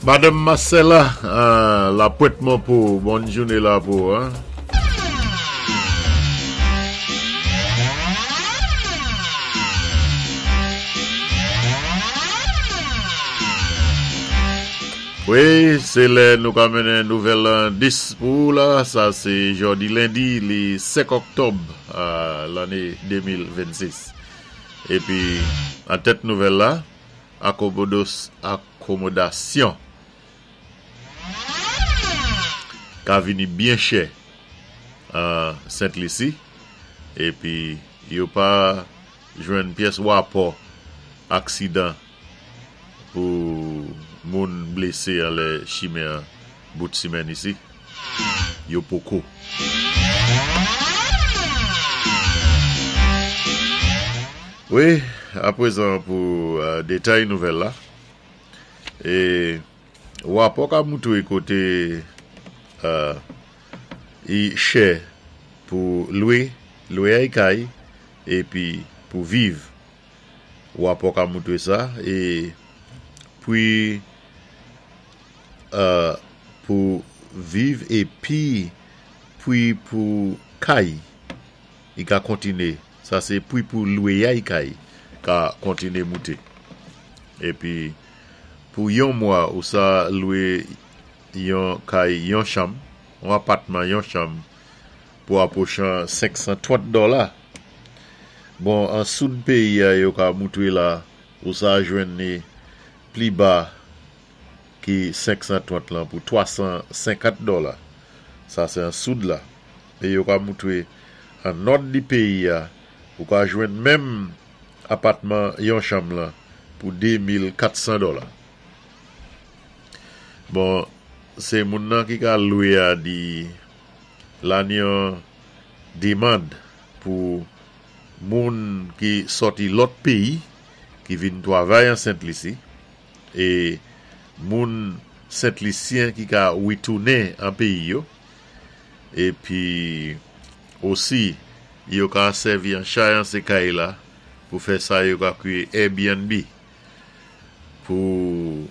Madanm Marcella, la Pwent Monpo, bòn jouné la pou ou. Wi, sé lè nou ka mennen nouvèl an 10 pou ou la, sa sé jòdi lendi li 5 òktòb lanné 2026. Épi an tèt nouvèl la, akomodos akomodasyon ka vini byen chè an Sent Lisi epi yo pa jwenn pyès wapò aksidan pou moun blese anlè chimen an bout simèn isi yo poko. Wi, aprezan pou detay nouvèl la. E wapò ka moutre kote i chè pou lwe, lweyay kay epi pou viv. Wapò ka moutre sa e pwi pou viv epi pwi pou kay i ka kontine. Sa se pwi pou lweyay kay ka kontine moute. Epi pou yon mwa ou sa lwe yon kay yon chanm, yon apatman yon chanm pou apwochan 530 dòla. Bon an soud peyi a yo ka moutre la ou sa jwenn li pli ba ki 530 lan pou 350 dòla. Sa se an soud la. E yo ka moutre an nòd di peyi a ou ka jwenn menm apatman yon chanm lan pou 2400 dòla. Bon, se moun nan ki ka lwe a di la ni yon demand pou moun ki sòti lòt peyi ki vin twavay an Sent Lisi e moun Sent Lisyen ki ka retounen an peyi yo. Epi osi yo ka sèvi an chay an se kay la pou fè sa yo ka kwiye Airbnb pou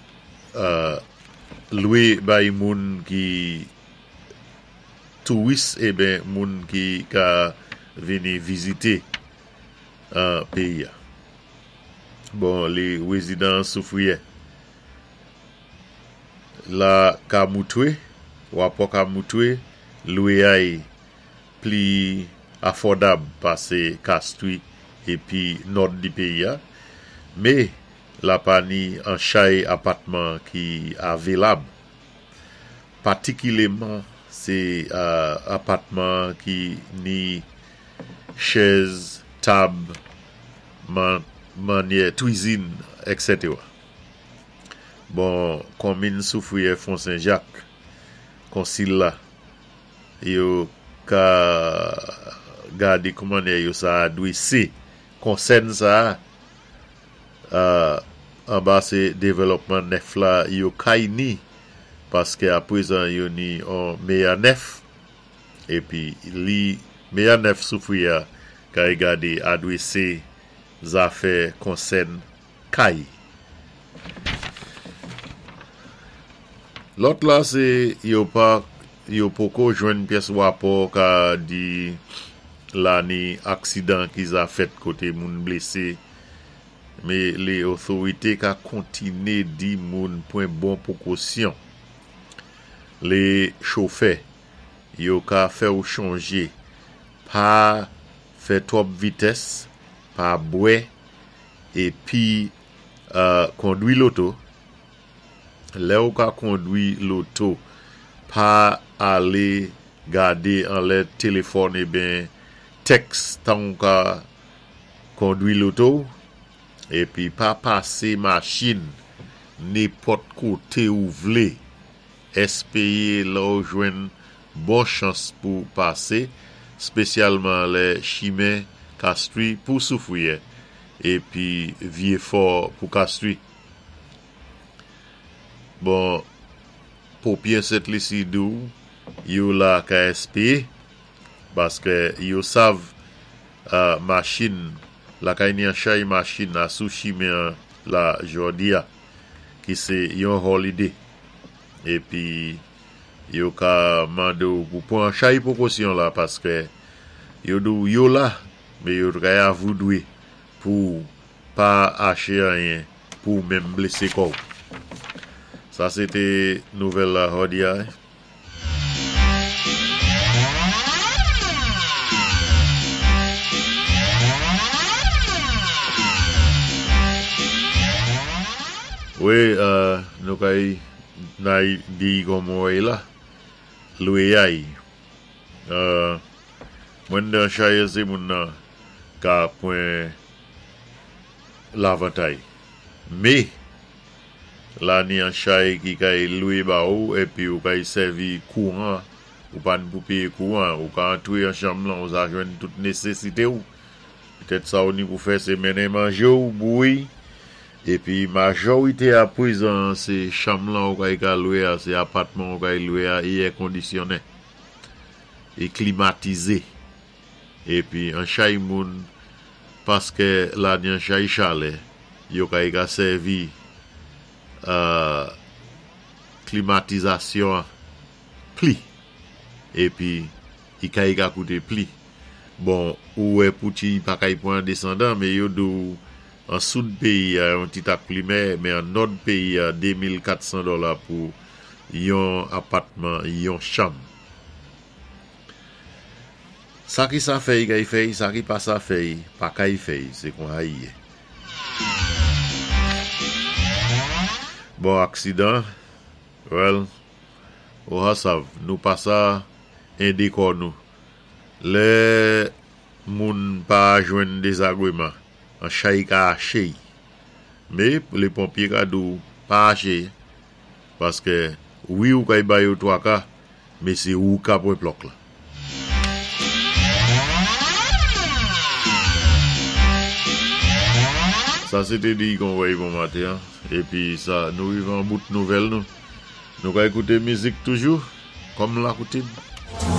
lwe bay moun ki touris eben moun ki ka vini vizite peyi a. Bon li rezidan Soufriyè. La ka moutre, wapò ka moutre lweyay pli afòdab pase Kastri epi nòd di peyi a, me la pa ni an chay apatman ki avelab. Patikileman se apatman ki ni chèz, tab, manyè twizin, eksetera. Bon konmin soufriyè fon sen jak konsil la yo ka gade koumanè yo sa adwese konsèn sa a anba se developman nèf la yo kay ni paske aprezan yo ni on meya nèf epi li meya nèf soufriyè kay gade adwese zafè konsèn kay. Lòt la se yo pa yo poko jwenn pyès wapò ka di la ni aksidan ki za fèt kote moun blese me le otorite ka kontine di moun pwen bon pwokosyon le chofè yo ka fè w chonje pa fè twòp vitès pa bwè Epi kondwi loto, lè ou ka kondwi loto pa ale gade anlè telefòn eben tèks tan ou ka kondwi loto ou, epi pa pase machin nepòt kote ou vle, espeye lè ou jwenn bon chans pou pase, spesyalman lè chimen Kastri pou Soufriyè epi Vyefò pou Kastri. Bon, popyè Sent Lisi di w yo la ka espeye paske yo sav machin lakay ni an chay machin a sou chimen an la jòdi a ki se yon holiday. Épi yo ka mando'w pou pwan chay pwékosyon la paskè yo di'w yo la mé yo kay avoudwé pou pa aché anyen pou menm blésé kò'w. Sa sé té nouvèl la jòdi a. Wi, nou kay nay di kòman wè la, lwéyay. Mwen nan chaye sé moun nan ka pwan lavantay. Mé la ni an chay ki kay lwé ba ou épi ou kay sèvi kouran, ou pa ni pou péyé kouran, ou ka antwé an chanm lan ou sa jwenn tout nésésité ou. Petèt sa ou ni pou fè sé mennen manjé ou bouyi épi majòwité a pwézan sé chanm lan ou kay ka lwé a, sé apatman ou kay lwé a é èkondisyonnen é klimatizé. Épi an chay moun paskè la ni an chay chalè yo kay ka sèvi klimatizasyon an pli épi i kay ka kouté pli. Bon ou wè pou ti pa kay pwan desandan mé yo di'w an soud péyi a yon ti tak pli mè mé an nòd péyi a 2400 dòla pou yon apatman yon chanm. Sa ki sa fèy kay fèy, sa ki pa sa fèy pa kay fèy, sé konsa i yé. Bon aksidan, well, ou ha sav, nou pa sa édé kò nou. Lè moun pa jwenn dézagwéman, an chay ka aché'y. Mé lé ponpyé ka di'w pa aché, paskè wi ou kay ba yo twaka, mé sé ou ka pwan plòk la. Sa sé té di kon wèy bon maten an, épi sa nou rivé an bout nouvèl nou. Nou ka ékouté mizik toujou, kòm lakoutim.